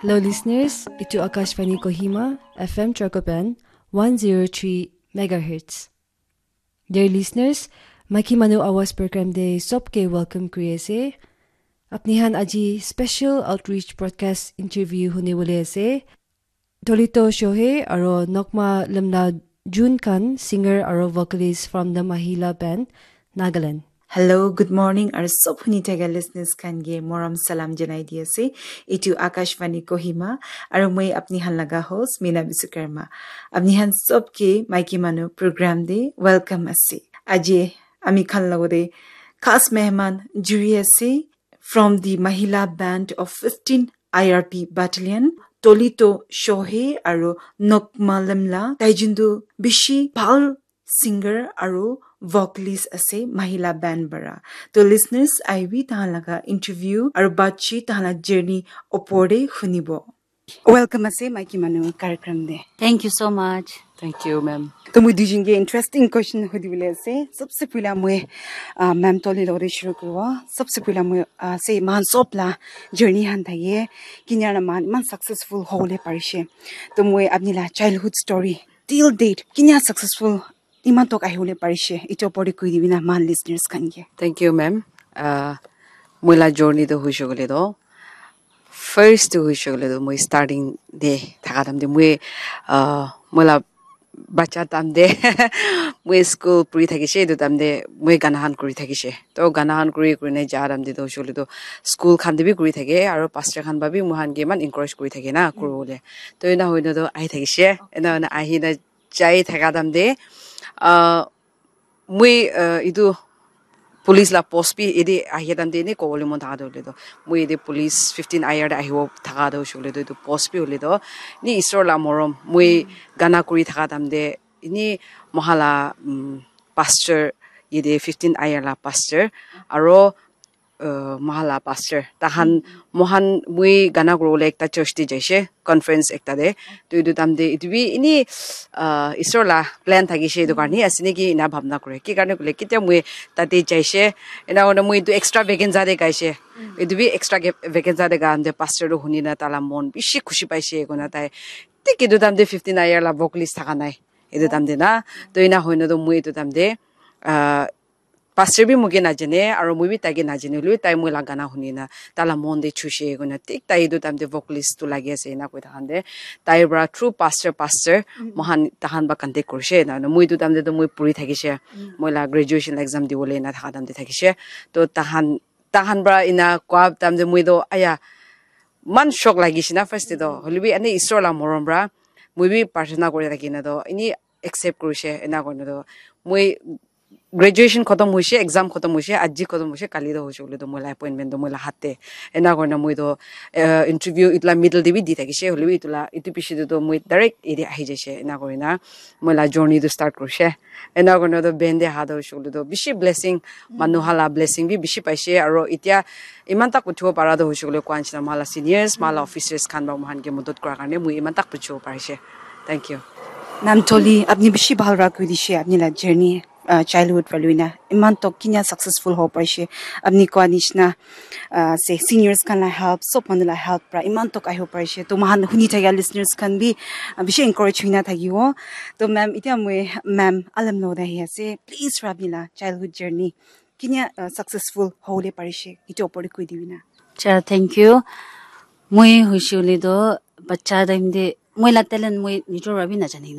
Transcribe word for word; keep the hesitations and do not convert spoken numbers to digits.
Hello listeners, itu Akashvani Kohima, F M Trakopan, one zero three megahertz. Dear listeners, Maiki Manu Awaaz program te sobke welcome kuri ase. Apni khan aji special outreach broadcast interview hune wale ase. Tolito Shohei aro Nokma Lemla Jun khan singer aro vocalist from the Mahila Band, Nagaland. Hello, good morning, aro sob huni thaka listeners khan ke morom salam janai di ase. Itu Akashvani Kohima, aro moi apni khan laga host, Meena Biswakarma. Apni khan sob ke Maiki Manu program de welcome ase. Aji ami khan logote khas mehman juri ase from the Mahila Band of fifteen I R P Battalion, Tolito Shohei aro Nokma Lemla, tai juntu bishi bhal singer aro vocalist ase Mahila Band para. To listeners, aibi tahan laga interview aro batchi tahan la journey opor de hunibo. Welcome ase Maiki Manu कार्यक्रम de. Thank you so much. Thank you, ma'am. To moi duijun ke interesting question hudi bole ase. Sabse pehla moi, ah, ma'am Toli logore shuru koribo. Sabse pehla moi, ah, se moikhan sob la journey khan thake. Kinya na moikhan iman successful hobole parishe. To moi apni la childhood story till date kinya successful iman tok ahibole parishe, etu opor te koi dibi na moikhan listeners khan ke. Thank you, ma'am. Uh, moi la journey to hoishe koile to, first to hoishe koile to, moi starting de thaka time de, moi, uh, moi la bacha time de, moi school puri thakishe, etu time de moi gana khan kuri thakishe. To gana khan kuri, kuri ne ja time de to hoishe koile to, school khan de bi kuri thake, aro pastor khan ba bi moi khan ke iman encourage kuri thake na, kuri bole. To ena hoi na to ahi thakishe, ena hoi na ahi na jai thaka time de, uh, moi, uh, etu police la post bi ede ahi time de ene kobole mon thaka tu hoile tu, moi ede police fifteen I R de ahibo thaka tu hoile tu, etu post bi hoile tu, ni Isor la morom, moi gana kuri thaka time de, ini moikhan la, um, pastor, ede fifteen I R la pastor, aro uh, moikhan la pastor. Tahan, moikhan, moi gana kuribole ekta church te jaise, conference ekta te. To etu time te, etu bi ini, uh, Isor la plan thakishe, etu karne ase naki ena bhabna kure. Ki karne koile, ketia moi tate jaise, ena hoina moi etu extravaganza te gaise. Etu bi extravaganza te gaam te pastor to huni na tala mon bishi khushi paise koina tai. Thik etu time te fifteen I R la vocalist thaka nai. Etu time te na. To ena hoina to moi etu time te, uh, pastor bi moike najane, aro moi bi taike najane, hoilebi tai moi la gana huni na, tai la mon de chushe koina, thik tai etu time te vocalist tu lagi ase, ena koi thakan de, tai para through pastor, pastor, moikhan tahan ba contact kurishe, na, na, moi etu time te to moi puri thakishe, moi la graduation exam dibole ena thaka time te thakishe, to tahan, tahan para ena koa time te moi to, aya, man shock lagishe na first te to, hoilebi ene Isor la morom para, moi bi prarthana kuri thaki na to, ene accept kurishe, ena koina to, moi graduation khotom hoishe, exam khotom hoishe, aji khotom hoishe, kali to hoishe koile to moi la appointment to moi la hat te. Ena kurina moi to, eh, interview etu la middle te bi di thakishe, hoilebi etu la, etu piche te to moi direct ede ahi jaishe, ena kurina moi la journey to start kurishe. Ena kurina to band te aha to hoishe koile to bishi blessing, manu khan la blessing bi bishi paishe, aro etia iman tak uthibo para to hoishe koile koa nishina moikhan la seniors, moikhan la officers khan para moikhan ke madad kura karne moi iman tak uthibo parishe. Thank you. Ma'am Toli, apni bishi bhal para koi dishe, apni la journey, uh, childhood para loina iman tok kinya successful hobo parishe. Apni koa nishina, uh, se seniors khan la help, sob manu la help para iman tok ahibo parishe. To moikhan huni thakia listeners khan bi, uh, bishi encourage hoina thakibo. To ma'am, etia moi ma'am Alam lo ahi ase. Please, apni la childhood journey kinya, uh, successful hobole parishe, etu opor te koi dibi na. Cha, thank you. Moi hoishe koile to bacha time te moi la talent moi nijor para bi najane kena